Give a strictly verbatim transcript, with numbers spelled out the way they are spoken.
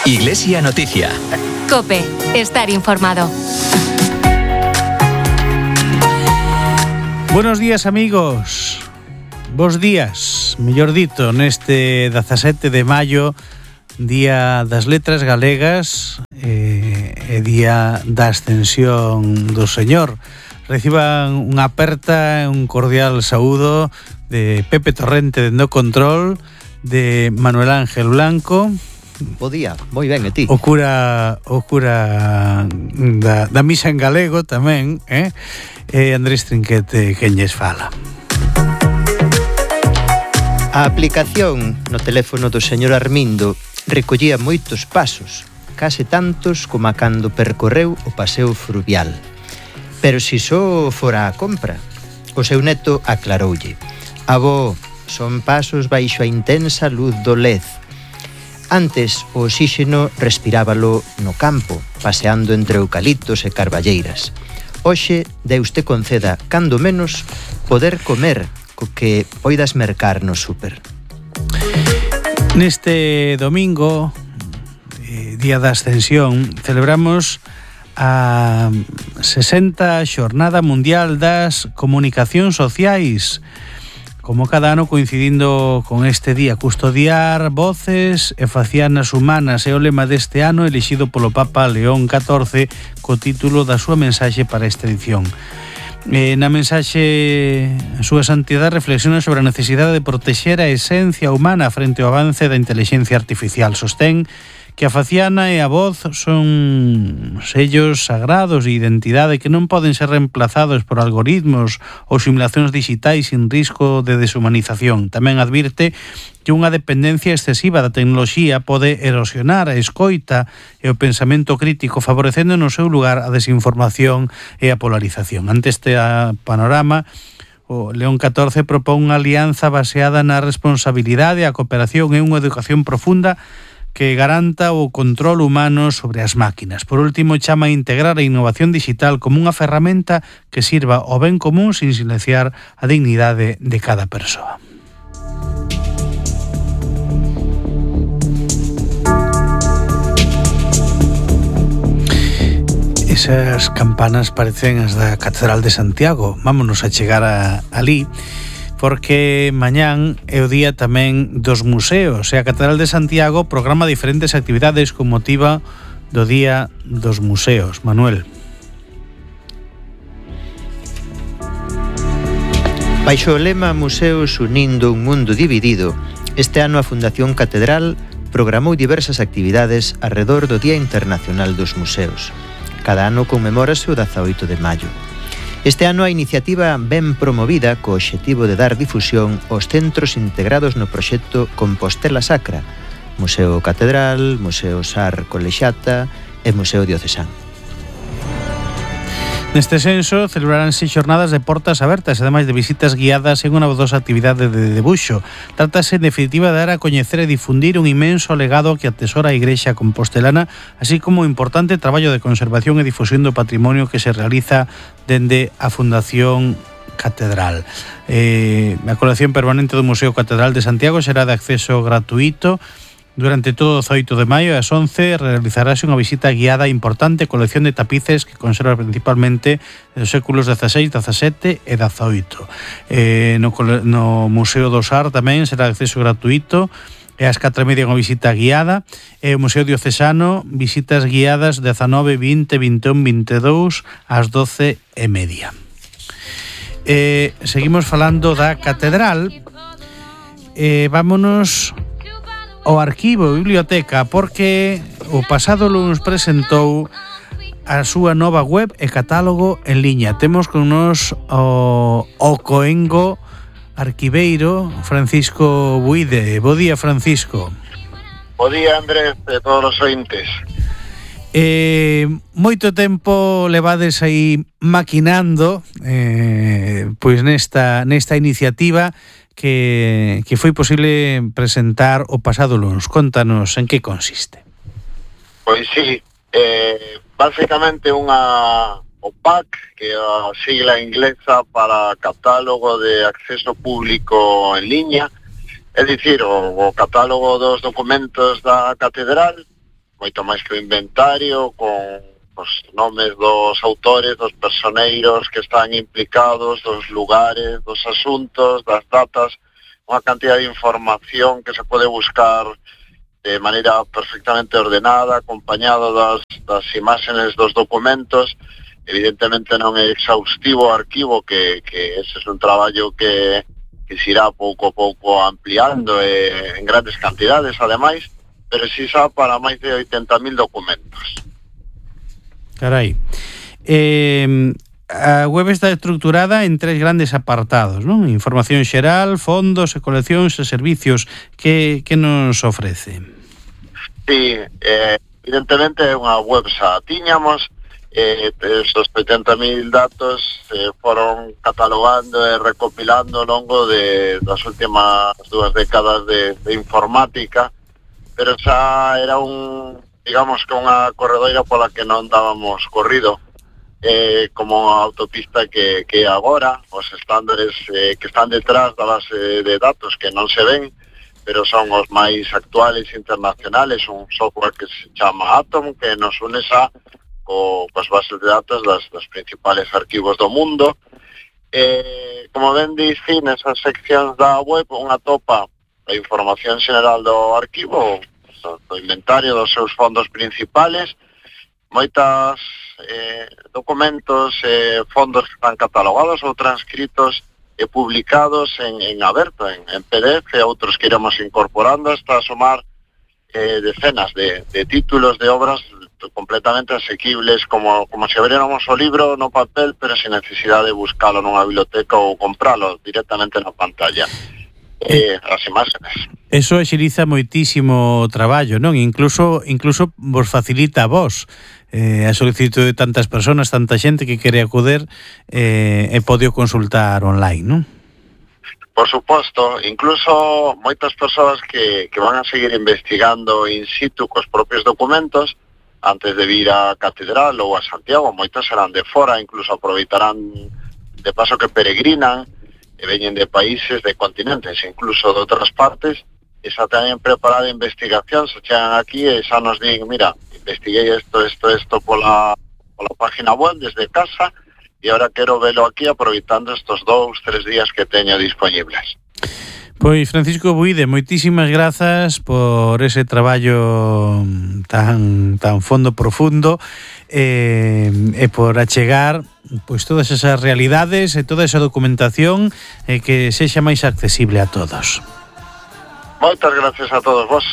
Iglesia Noticia. COPE. Estar informado. Buenos días, amigos. Bos días, mellor dito, neste dezasete de maio, Día das Letras Galegas e, e Día da Ascensión do Señor. Reciban unha aperta e un cordial saúdo de Pepe Torrente de No Control, de Manuel Ángel Blanco. Bo día, moi ben, e ti? O cura, o cura da, da misa en galego tamén, eh? E Andrés Trinquete, quen lles fala. A aplicación no teléfono do señor Armindo recollía moitos pasos, case tantos como a cando percorreu o paseo fluvial. Pero si só fora a compra, o seu neto aclaroulle: avó, son pasos baixo a intensa luz do L E D. Antes o oxíxeno respirábalo no campo, paseando entre eucaliptos e carballeiras. Hoxe, Deus te conceda, cando menos, poder comer co que poidas mercar no súper. Neste domingo, eh, Día da Ascensión, celebramos a sesenta Xornada Mundial das Comunicacións Sociais. Como cada ano, coincidindo con este día, custodiar voces e facianas humanas é o lema deste ano elixido polo Papa León catorce co título da súa mensaxe para esta edición. Eh, na mensaxe, a súa santidade reflexiona sobre a necesidade de protexer a esencia humana frente ao avance da inteligencia artificial. Sostén que a faciana e a voz son sellos sagrados de identidade que non poden ser reemplazados por algoritmos ou simulacións digitais sin risco de deshumanización. Tamén advirte que unha dependencia excesiva da tecnoloxía pode erosionar a escoita e o pensamento crítico, favorecendo no seu lugar a desinformación e a polarización. Ante este panorama, o León catorce propón unha alianza baseada na responsabilidade, a cooperación e unha educación profunda que garanta o control humano sobre as máquinas. Por último, chama a integrar a innovación digital como unha ferramenta que sirva ao ben común sin silenciar a dignidade de cada persoa. Esas campanas parecen as da Catedral de Santiago. Vámonos a chegar a, ali, porque mañán é o día tamén dos museos, e a Catedral de Santiago programa diferentes actividades con motivo do Día dos Museos. Manuel. Baixo o lema Museos unindo un mundo dividido, este ano a Fundación Catedral programou diversas actividades arredor do Día Internacional dos Museos. Cada ano conmemórase o dezaoito de maio. Este ano a iniciativa ven promovida co obxectivo de dar difusión aos centros integrados no proxecto Compostela Sacra, Museo Catedral, Museo Sar Colexata e Museo Diocesán. Neste senso, celebraránse xornadas de portas abertas, ademais de visitas guiadas en unha novedosa actividade de debuxo. Trátase, en definitiva, de dar a coñecer e difundir un inmenso legado que atesora a Igrexa compostelana, así como o importante traballo de conservación e difusión do patrimonio que se realiza dende a Fundación Catedral. Eh, a colección permanente do Museo Catedral de Santiago será de acceso gratuito. Durante todo o dezaoito de maio ás once realizarase unha visita guiada importante, colección de tapices que conserva principalmente dos séculos dezaseis, dezasete e dezaoito. Eh, no, no Museo do Sar tamén será de acceso gratuito, e ás catro e media unha visita guiada, e o Museo Diocesano visitas guiadas dezanove, vinte, vinte e un, vinte e dous ás doce e media. Eh, seguimos falando da Catedral. Eh, vámonos ao arquivo e biblioteca, porque o pasado lunes presentou a súa nova web e catálogo en liña. Temos con nos o, o coengo arquiveiro Francisco Buide. Bo día, Francisco. Bo día, Andrés, e todos os ointes. Eh, moito tempo levades aí maquinando eh, pois nesta, nesta iniciativa que, que foi posible presentar o pasado lunes. Contanos en que consiste. Pois sí, eh, basicamente unha O P A C, que é a sigla inglesa para Catálogo de Acceso Público en Liña, é dicir, o, o catálogo dos documentos da Catedral, moito máis que o inventario, con os nomes dos autores, dos personeiros que están implicados, dos lugares, dos asuntos, das datas, unha cantidad de información que se pode buscar de maneira perfectamente ordenada, acompañado das, das imágenes dos documentos. Evidentemente non é exhaustivo o arquivo, que, que ese é un traballo que, que se irá pouco a pouco ampliando eh, en grandes cantidades, ademais, pero si xa para máis de oitenta mil documentos. Carai. Eh, a web está estructurada en tres grandes apartados, non? Información xeral, fondos e coleccións e servicios. Que, que nos ofrece? Sí, eh, evidentemente é unha web xa tiñamos, eh, estos oitenta mil datos eh, foron catalogando e recopilando ao longo de, das últimas dúas décadas de, de informática, pero xa era un... digamos que unha corredoira pola que non dábamos corrido, eh, como a autopista que, que agora, os estándares eh, que están detrás da base de datos que non se ven, pero son os máis actuales internacionales, un software que se chama Atom, que nos une xa co, coas bases de datos das, das principales arquivos do mundo. Eh, como ben dixi, nesas seccións da web, unha topa a información general do arquivo, do inventario dos seus fondos principales, moitas eh, documentos, eh, fondos que están catalogados ou transcritos e publicados en, en aberto, en, en P D F, outros que iremos incorporando hasta sumar eh, decenas de, de títulos de obras completamente asequibles, como, como se abriéramos o libro no papel, pero sin necesidade de buscalo nunha biblioteca ou compralo directamente na pantalla. Eh, as imágenes. Eso axiliza moitísimo traballo, non? Incluso incluso vos facilita a vos eh, a solicitud de tantas personas, tanta xente que quere acudir eh, e pode consultar online, non? Por suposto, incluso moitas persoas que, que van a seguir investigando in situ cos propios documentos antes de vir a Catedral ou a Santiago, moitas serán de fora, incluso aproveitarán de paso que peregrinan e veñen de países, de continentes, incluso de outras partes, e xa teñen preparada investigación, se chegan aquí e xa nos din, mira, investiguei isto, isto, isto pola, pola página web desde casa e agora quero velo aquí aproveitando estos dous, tres días que teño disponibles. Pois Francisco Buide, moitísimas grazas por ese traballo tan tan fondo profundo eh, e por achegar pois todas esas realidades e toda esa documentación eh, que sexa máis accesible a todos. Moitas gracias a todos vos.